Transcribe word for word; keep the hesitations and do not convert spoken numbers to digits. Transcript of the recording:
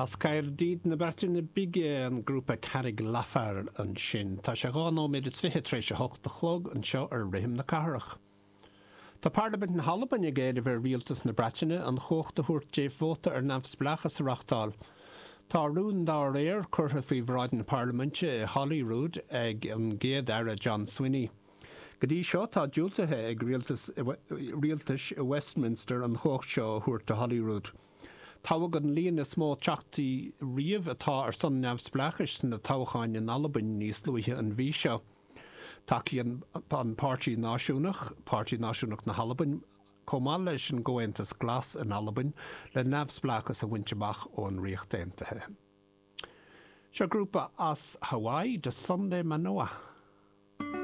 As Caerdydd na Breataine Bige an grúpa Carreg Lafar ansin. Tá sé dhá nóiméad is fiche tar éis a hocht a chlog anseo ar Rithim na Cathrach. Tá Parlaimint na hAlban ag éileamh ar Rialtas na Breataine an chumhacht a thabhairt dóibh vóta ar neamhspleáchas a reáchtáil. Tá rún dá réir curtha faoi bhráid na Parlaiminte i Holyrood ag an gCéad Aire John Swinney. Go dtí seo tá diúltaithe ag rialtais i Westminster an chumhacht seo a thabhairt do Holyrood. Toghadh an líon is mó teachtaí riamh atá ar son neamhspleáchais sna toghcháin in Albain níos luaithe an mhí seo. Tacaíonn an Páirtí Náisiúnach, Páirtí Náisiúnach na hAlban, chomh maith leis an gComhaontas Glas in Albain le neamhspleáchas a bhaint amach ón Ríocht Aontaithe. Seo grúpa as Hawaii de Sunday Manoa.